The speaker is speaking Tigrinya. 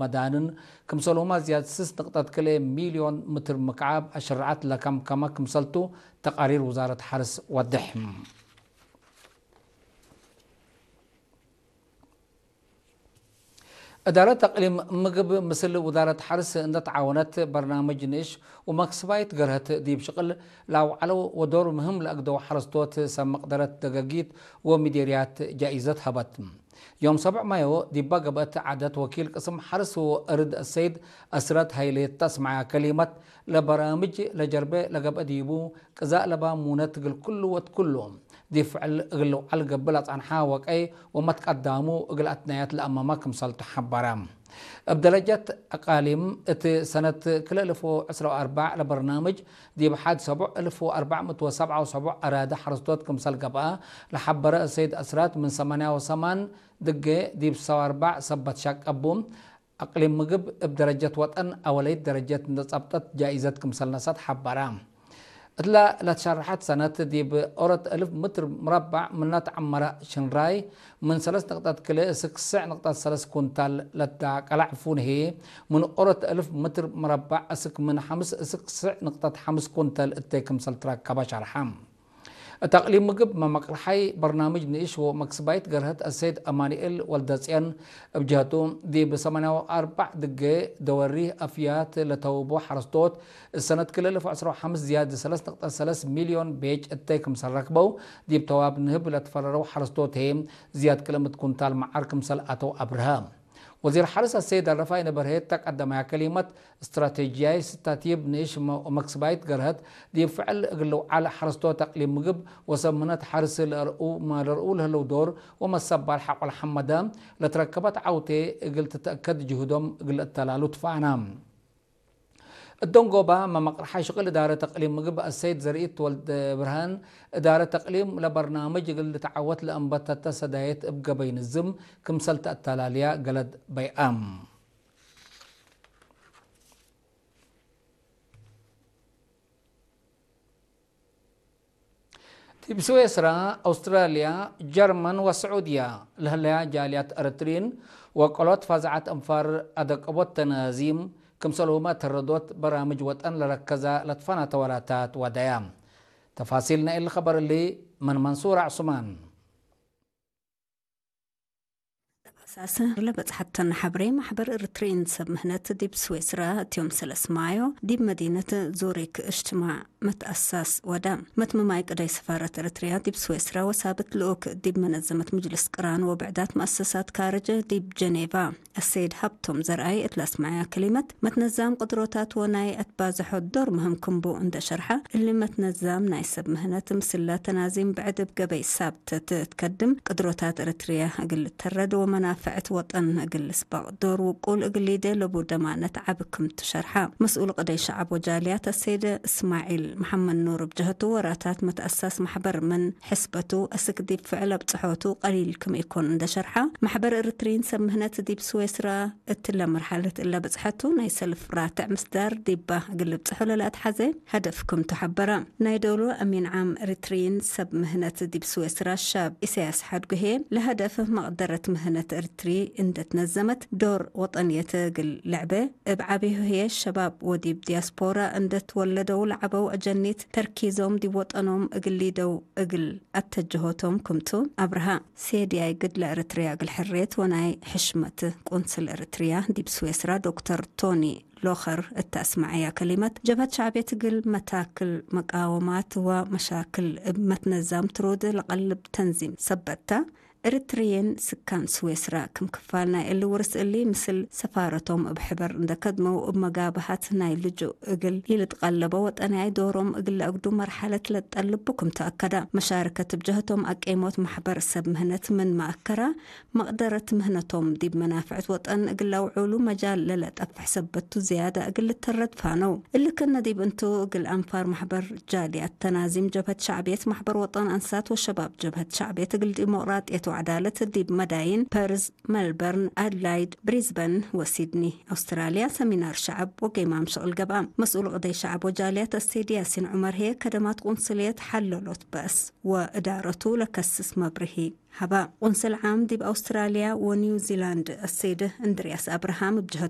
መዳንን ክምሰልሁማ ዝያድ ስስ ንቕጠት ክልኤ ሚልዮን ምትር ምክዓብ ኣሽርዓት ለካምካማ ክምሰልቱ ተቓሪር ውዛረት ሓርስ ወድሕ። እዳረት ኣቕሊም ምግብ ምስል ውዛረት ሓርስ እንደተዓወነት በርናምጅ ንእሽ ወመክስባይት ገርሀት ዲብ ሽቕል ላውዓለው ወዶር ምህም ለእግደው ሓረስቶት ሰብ መቕደረት ደገጊት ወሚዴርያት ጃኢዘት ሀበት። ዮም ሰብዕ ማዮ ዲባ ገበእት ዓደት ወኪል ቅስም ሓርስ ወእርድ ሰይድ ኣስረት ሃይሌት ተስማያ ከሊመት ለበራምጅ ለጀርበ ለገብአ ዲቡ ቅዛእ ለባ ሙነት እግል ኩሉ ወትኩሉ ዲብ ፍዕል እግል ለውዓል ገብእ ለጸንሓ ወቀይ ወመትቀዳሙ እግል ኣትናያት ለአመማ ክምሰልቱ ሐበረ። እብ ደረጀት አቃሊም እት ሰነት ክልኤ እልፍ ወዕስራ ወአርባዕ ለበርናምጅ ዲብ ሐድ ሰቡዕ እልፍ ወአርባዕ ምእት ወሰብዓ ወሰቡዕ አራደ ሐረስቶት ክምሰል ገብአ ለሐበረ ሰይድ አስራት ምን ሰማንያ ወሰማን ድጌ ዲብ ሰባ ወአርባዕ ሰበት ሻቀቡ አቅሊም ምግብ እብ ደረጀት ወጠን አወለይት ደረጀት እንደ ጸብጠት ጃኢዘት ክምሰል ነሰት ሐበረ። እትላ ለትሸርሐት ሰነት ዲብ ኦረት እልፍ ምትር ምረባዕ ምና ተዓመረ ሽንራይ ምን ሰለስ ንቅጠት ክልኤ እስክ ስዕ ንቅጠት ሰለስ ኩንታል ለዳቀላዕ ፉንሄ ምን ኦረት እልፍ ምትር ምረባዕ እስክ ምን ሐምስ እስክ ስዕ ንቅጠት ሐምስ ኩንታል እተይ ክምሰል ትረከበ ሸርሐ። እት አቅሊም ምግብ መመቅርሓይ በርናምጅ ንእሽ ወመክስባይት ገርሀት አሰይድ አማኑኤል ወልደጽዮን እብ ጀህቱ ዲብ ሰማንያ ወአርባዕ ድጌ ደወሪ አፍያት ለተውቦ ሐረስቶት እሰነት ክልኤ እልፍ ወዕስራ ወሐምስ ዝያድ ሰለስ ነጥብ ሰለስ ሚልዮን ቤጅ እተይ ክምሰል ረክበው፣ ዲብ ተዋብ ንህብ ለትፈረረው ሐረስቶት ህዬ ዝያድ ክልኤ ምእት ኩንታል መዓር ክምሰል አተው አብርሀ። ወዚር ሐርስ አሰይድ አረፋይነ በርሄ እተ ቀደማያ ከሊመት፣ እስትራቴጂያይ ስታቲብ ንእሽ መ-፣ መክስባይት ገርሀት ዲብ ፍዕል እግል ልውዓል ሐረስቶት አቅሊም ምግብ ወሰብ ምህነት ሐርስ ለርኡ፣ ለርኡ ለህለው ዶር ወመሰባል ሐቆል ሐመደ ለትረከበት ዓውቴ እግል ትተአከድ ጅሁዶም እግል እተላሉ ትፋና። እት ደንጎባ መመቅርሓይ ሽቅል እዳረት አቅሊም ምግብ አሰይድ ዘርኢት ወልደ ብርሃን፣ እዳረት አቅሊም ለበርናምጅ እግል ልትዓወት ለአንበተተ ሰዳየት እብ ገበይ ንዝም ክምሰል ተአተላልያ ገለድ በይአም። ዲብ ስዌስራ፣ አውስትራልያ፣ ጀርመን ወስዑድያ ለህለያ ጃልያት ኤረትሪን ወቀሎት ፋዛዓት አንፋር አደቀቦት ተናዚም ክምሰልሁመ ተረዶት በራምጅ ወጠን ለረከዛ ለትፈናተ ወራታት ዋዳያ። ተፋሲል ናይል ኸበር እሊ ምን መንሱር ዑስማን። ተፋሳስ ለበጽሐተን ሐብሬ ማሕበር ኤርትሪን ሰብ ምህነት ዲብ ስዌስራ እትዮም ሰለስ ማዮ ዲብ መዲነት ዙሪክ እጅትማዕ መትአሳስ ወዳ። መትምማይ ቅዳይ ሰፋረት ኤርትርያ ዲብ ስዌስራ ወሳብት ልኡክ ዲብ መነዘመት ምጅልስ ቅራን ወብዕዳት መአሰሳት ካርጅ ዲብ ጀኔቫ አሰይድ ሃብቶም ዘርአይ እት ለአስመዐያ ከሊመት፣ መትነዛም ቅድሮታት ወናይ አትባዝሖ ዶር ምህም ክምቡ እንደ ሸርሐ፣ እሊ መትነዛም ናይ ሰብ ምህነት ምስላ ተናዚም ብዕድ እብ ገበይ ሳብተት እትከድም ቅድሮታት ኤርትርያ እግል ልተረድ ወመናፍዕት ወጠን እግል ልስበቅ ዶር ውቁል እግል ሊዴ ለቡ ደማነት ዓቢ ክምቱ ሸርሐ። መስኡል ቅደይ ሸዓብ ወጃልያት አሰይደ እስማዒል መሐመድ ኑር እብ ጀህቱ፣ ወራታት መትአሳስ ማሕበር ምን ሕስበቱ አስክ ዲብ ፍዕል አብጽሖቱ ቀሊል ክም ኢኮን እንደ ሸርሐ፣ ማሕበር ኤርትሪን ሰብ ምህነት ዲብ ስዌስራ እትለ መርሐለት እለ በጽሐቱ ናይ ሰልፍ ራትዕ ምስዳር ዲባ እግል ልብጽሖ ለለአትሐዘ ሀደፍ ክምቱ ሐበረ። ናይ ዶሉ አሚን ዓም ኤርትሪን ሰብ ምህነት ዲብ ስዌስራ ሻብ ኢሳያስ ሐድጉ ህዬ፣ ለሀደፍ መቅደረት ምህነት ኤርትሪ እንደ ትነዘመት ዶር ወጠንየት እግል ለዕበ፣ እብ ዓቢሁ ህዬ ሸባብ ወዲብ ዲያስፖራ እንደ ትወለደው ለዐበው አጀኒት ተርኪዞም ዲብ ወጠኖም እግል ሊደው እግል አተጀሆቶም ክምቱ አብርሃ። ሴድያይ ግድ ለኤርትርያ እግል ሕርየት ወናይ ሕሽመት ቆንስል ኤርትርያ ዲብ ስዌስራ ዶክተር ቶኒ ሎኸር እተ አስመዐያ ከሊመት፣ ጀብሀት ሸዕብየት እግል መታክል መቃወማት ወመሻክል እብ መትነዛም ትሩድ ለቀልብ ተንዚም ሰበትታ፣ ኤርትርየን ስካን ስዌስራ ክም ክፋል ናይ እሊ ውርስ እሊ ምስል ሰፋረቶም እብ ሕበር እንደ ከድመው እብ መጋብሀት ናይ ልጁእ እግል ኢልትቀለበ ወጠንያይ ዶሮም እግል ለአግዱ መርሐለት ለትጠልብ ክም ተአከዳ። መሻርከት እብ ጀህቶም አቄሞት ማሕበር ሰብ ምህነት ምን መአከራ፣ መቅደረት ምህነቶም ዲብ መናፍዕት ወጠን እግል ለአውዑሉ መጃል ለለጠፍሕ ሰበቱ ዝያዳ እግል ልተረድ ፋነው። እሊ ክነ ዲብ እንቱ እግል አንፋር ማሕበር ጃልያት ተናዚም ጀብሀት ሸዕብየት ማሕበር ወጠን አንሳት ወሸባብ ጀብሀት ሸዕብየት እግል ዲሞቅራጥየት ወዕዳለት ዲብ መዳይን ፐርዝ፣ መልበርን፣ ኣድላይድ፣ ብሪዝበን ወሲድኒ። ኣውስትራልያ ሰሚናር ሸዓብ ወገይማም ሽቕል ገብኣ። መስኡል ቕደይ ሸዓብ ወጃልያት ኣሰይድ ያሲን ዑመር ህየ ከደማት ቁንስልየት ሓለሎት በእስ ወእዳረቱ ለከስስ መብርሂ ሃባ። ቁንስል ዓም ዲብ ኣውስትራልያ ወኒውዚላንድ ኣሰይድ እንድርያስ ኣብርሃም ብጅሀቱ